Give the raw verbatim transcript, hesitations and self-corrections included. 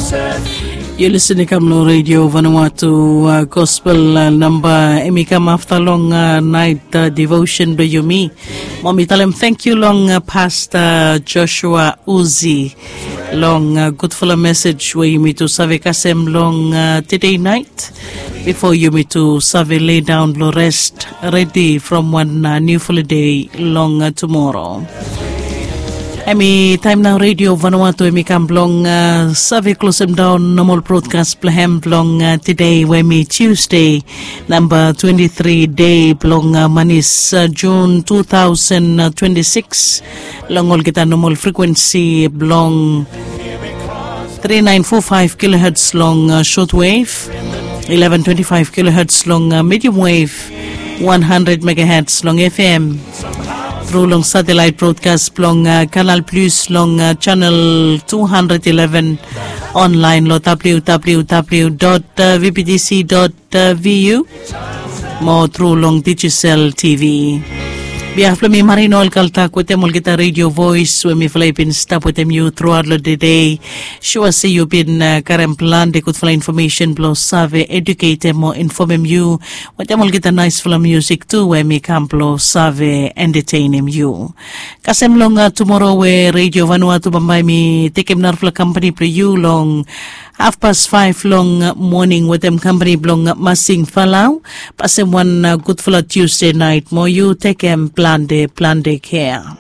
Yu lisin i kam long redio Vanuatu, gospel namba em i kam afta long nait devotion blong yumi. Mo mi talem tangkiu long pasta Joshua Uzi long gudfala mesej we yumi tu save kasem long tede nait. Bifo yumi tu save ledaon blong rest, redi from wan niufala dei long tumoro. Em i taem nao redio Vanuatu em i kam blong save klosem daon nomal brodkas blong hem blong tede we em i Tuesdei, namba twenti tri dei blong manis, Jun tu taosen twenti sikis, long olgeta nomal frikwensi blong tri naen fo faef kiloherts long shotwef, eleven twenti faef kiloherts long medium wef, wan handred megaherts long F M. Tru long satelaet brodkas blong Kanal Plus long chanel tu handred ileven, onlaen long W W W dot V B T C dot V U, mo tru long Digicel T V. Bihaf blong mi Marino Olkaltak wetem olgeta redio voes we mifala i bin stap wetem yu truaot long tede. Sua se yu bin karem plante gudfala infomesen blong save eduketem mo infomem yu wetem olgeta naesfala musik tu we mi kam blong save entetenem yu. Kasem long tumoro we redio Vanuatu bambae mi tekem narafala kampani blong yu long hafpas faef long moning wetem kampani blong Masing Falau. Pasem wan gudfala Tuesdei nait mo yu tekem plante plante kea.